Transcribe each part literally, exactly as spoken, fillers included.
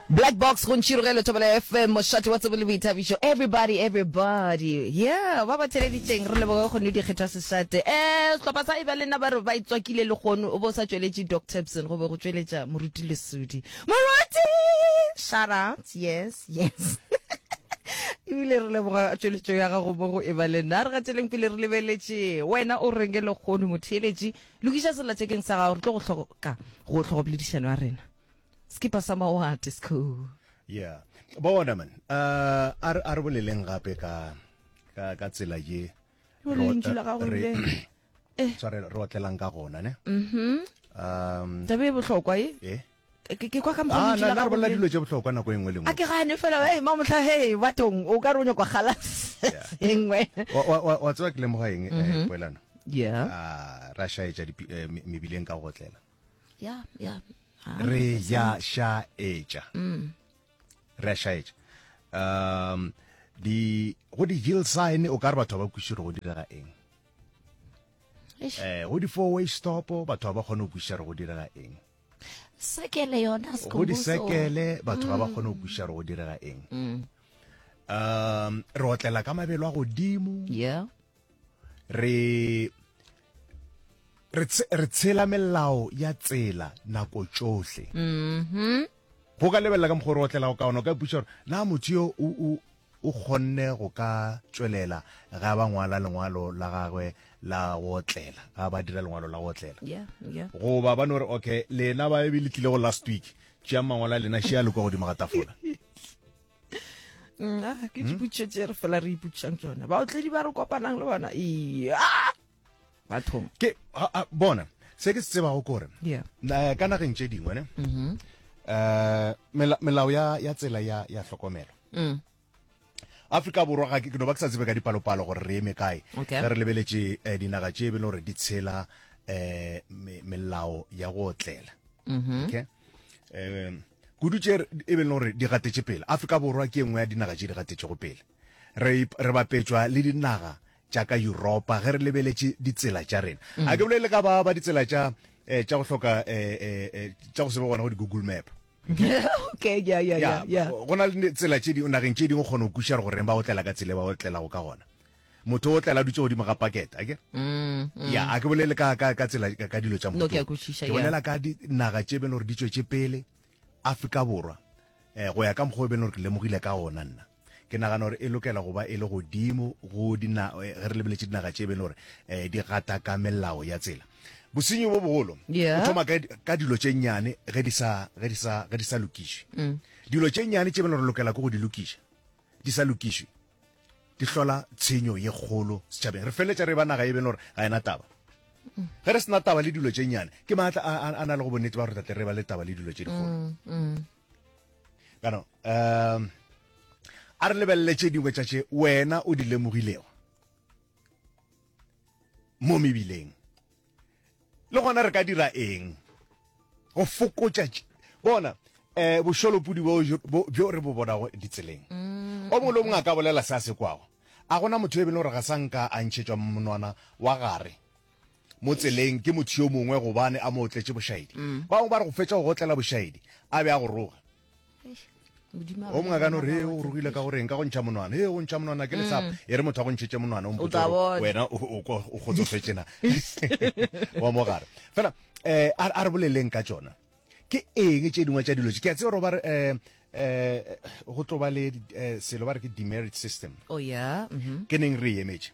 Black Box go Ntšhirogelo Thobela F M, mošate wa tsebo le boithabišo. Everybody, everybody. Yeah, ba ba theleditšeng re leboge kgone dikgethwa sešate. Eh, sehlopha sa eba le nna ba re ba itswakile le kgono o bo sa tšweletše Doc Tapson go be go tšweletša Moruti Lesudi. Moruti! Shout out. Yes, yes. Ebile re leboga tšweletšo ya gago mo go eba le nna. Re gateleng pele re lebeletše wena o reng le kgono motheeletši. Lokiša sellathekeng sa gago re tlo go hloka go tlhogopoledišano ya rena. Skipa sa maoate sco. Yeah. Bona man, uh, a re a re boleleng gape ka ka ka tsela ye Yo lentšu la gago re le. Eh. tshwarelo re otlelang ka gona ne. Mhm. Um Taba e bohlokwa e. eh Ke ke kwa ka mokgwa ah lentšu na la na re gago bolela le. dilo tše bohlokwa nako e nngwe le A nngwe. ke gane fela hey mamohla hey bathong o ka re o nyakwa kgala Yeah. sengwe. Wa wa wa- wa tseba ke lemoga eng eh poelano? Yeah. Ah ra šaetša dipi- eh, me- mebileng ka go otlela. Yeah, yeah. Re ya šaetša. Re a šaetša. Um di go di yield sign o ka re batho ba kwešiše gore go direga eng. Eish. Eh go di four way stop batho ba ba kgone go kwešiša gore go direga eng. Sekele yona Go di Skhumbuzo. sekele batho ga ba kgone go kwešiša gore go direga eng. Um re otlela ka mabelo a godimo. Yeah. Re re tse- re tshela melao ya tsela nako tšohle. Mhm. Go ka lebelela ka mokgwa o re otlelago ka ona o ka ipotšiša gore na motho yo o o o kgonne go ka tšwelela ga ba ngwala lengwalo la gagwe la go otlela, ga ba dira lengwalo la go otlela. Yeah, yeah. Goba ba no re okay lena ba e le tlile go last week tšeang mangwalo a lena šea le kwa godimo ga tafola. Mm, ah, ke dipotšišo tše re fela re ipotšišang tsona. Baotledi ba re kopanang le bona. Iya. Bathong. Ke a, a, bona se ke se tsebago ke gore Yeah. na- ka nageng tše dingwe ne eh mela- melao ya ya tsela ya ya hlokomelo. Mm. Afrika Borwa ga ke ke no ba ke sa tsebe ka dipalopalo gore re eme kae. Okay. Ge re lebeletše eh, dinaga tše e be le gore di tshela eh me- melao ya go otlela. Mhm. Okay. Eh kudu tše re- e be le gore di gatetše pele. Afrika Borwa ke e nngwe ya dinaga tše di gatetšego pele. Re ip- re bapetšwa le dinaga tša ka Europa ge re lebeletše ditsela tša rena. A ke bolele ka ba ba ditsela tša eh, tša go hloka eh, eh, eh, tša go se be gona go di Google Map. Okay, yeah, yeah, yeah, yeah. Go na le tsela tše dingwe nageng tše dingwe o kgona go kwešiša gore goreng ba otlela ka tsela e ba otlelago ka gona. Motho o otlela a dutše godimo ga pakete, akere? Mm, mm. Ya, a ke bolele ka ka ka tsela ka, ka dilo tša No, ke a mohuta wo. kwešiša, Ke yeah. bolela ka dinaga tše be le gore di tšwetše pele Afrika Borwa. Eh go ya ka mokgwa o be le gore ke lemogile ka ona nna. Ke nagana gore e lokela go ba e le godimo go dina eh, ge re lebeletše dinaga tše be le gore eh, di gata ka melao ya tsela. Bosenyi bo bogolo Yeah. o thoma ka, ka dilo tše nnyane ge di sa ge di sa ge di sa lokišwe. Mm. Dilo tše nnyane tše be le gore lokela ke go di lokiša di sa lokišwe di hlola tshenyo ye kgolo setšhabeng. Re feleletša re ba naga e be le gore ga ena taba. Ge re sena taba le dilo tše nnyane ke maatla a, a, a na le go bonnete ba gore tle re ba le taba le dilo tše dikgolo. Mm, mm. Kana um a re lebelele tše dingwe tša tše wena o di lemogilego mo mebileng. Le gona re ka dira eng go fokotša tše- bona eh bošolopudi bo bo- bjo re bo bonago ditseleng. O mongwe le o mongwe a ka bolela se a se kwago. A gona motho e be le gore ga sa nka a ntšhetšwa monwana wa gare mo tseleng ke motho yo mongwe gobane a mo otletše bošaedi. Ba bangwe ba re go fetša go gotlela bošaedi a be a go roga. Eish, Modimo a O mongwe a ka no ba re ba "He, o ba rogile ka goreng ka go ntšha monwana. He, go ntšha monwana ke lesapo. E re motho a go ntšhetše monwana o O mpotse tla gore bona. wena o o kwa- o kgotsofetše na. Wa mo gare. Fela eh a a re boleleng ka tšona. Ke eng tše dingwe tša dilo tše? Ke a tseba gore ba re eh eh go tlo ba le eh, selo ba re ke demerit system. Oh yeah. Mhm. Ke neng re e emetše.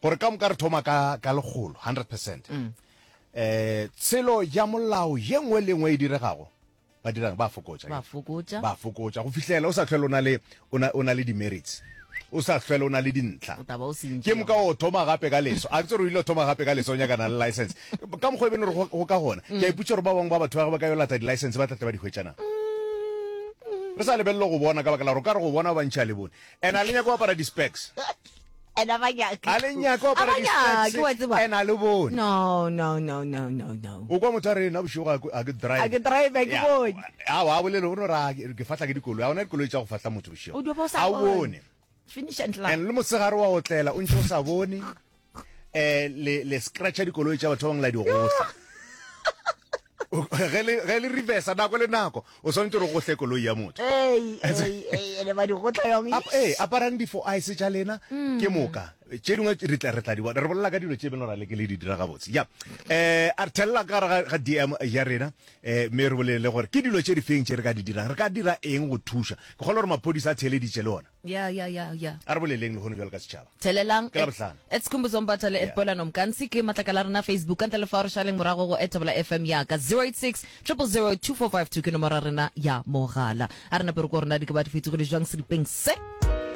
Gore ka moka re thoma ka ka lekgolo hundred percent. Eh tshelo ya molao ye nngwe le nngwe e diregago ba dirang ba fokotša. Ba fokotša. Ba fokotša go fihlela o sa hlwele o na le o na o na le demerits. O sa hlwele o na le dintlha. O tla ba o sentše. Ke moka o thoma gape ka leso. A ke tsere o ile o thoma gape ka leso o nyakana le license. Ka mokgwa e beng gore go go ka gona. Ke a ipotša gore ba bangwe ba batho ba ba ka yo lata di-license ba tla tle ba di hwetša na. Re sa lebelele go bona ka baka la gore o ka re go bona ba bantši a le bone. And a le nyake go apara di-specs. And a ba nyake. A le nyake go A apara ba nyake, wa di-specs. tseba. And a le bone. No, no, no, no, no, no. O kwa motho a re nna bošego ga ke- ga ke drive. A ke drive, a ke Ya. bone. Aowa, a bolele o no re a ke ke fahla ke dikoloi. Ha ona dikoloi tša go fahla motho bošego. O dio ba o sa A o bone. bone. Finish and clap. And le motshegare wa otlela o ntse o sa bone. Eh le le scratcha dikoloi tša batho ba bangwe la di gohla. O- ge le ge le reversa nako le nako o swanetše gore o gohle koloi ya motho. Ei, ei, ei, ene ba di gotla yong. Ap- ee aparang di-four eyes tša lena ke moka. Tše dingwe re tla re tla di bona. Re bolela ka dilo tše beng ra le ke le di dira gabotse. Ya, um a re thelela ka gare ga- ga D M ya rena, um mme re bolele gore ke dilo tše di feng tše re ka di dirang, re ka dira eng go thuša. Ke kgolwa gore maphodisa a theeleditše le ona. Ya, ya, ya, ya. A re boleleng lehono bjalo ka setšhaba. Thelelang. Ke Labohlano. At Skhumbuzo Mbatha le at Yeah. Poelano Mkansi ke matlakala a rena Facebook. Ka ntle le fao re šaleng morago go at Thobela F M ya ka zero eight six, triple zero, two four five two ke nomoro ya rena ya mogala. A re nape re ko rena di ke ba di fetogile jwang seripeng se.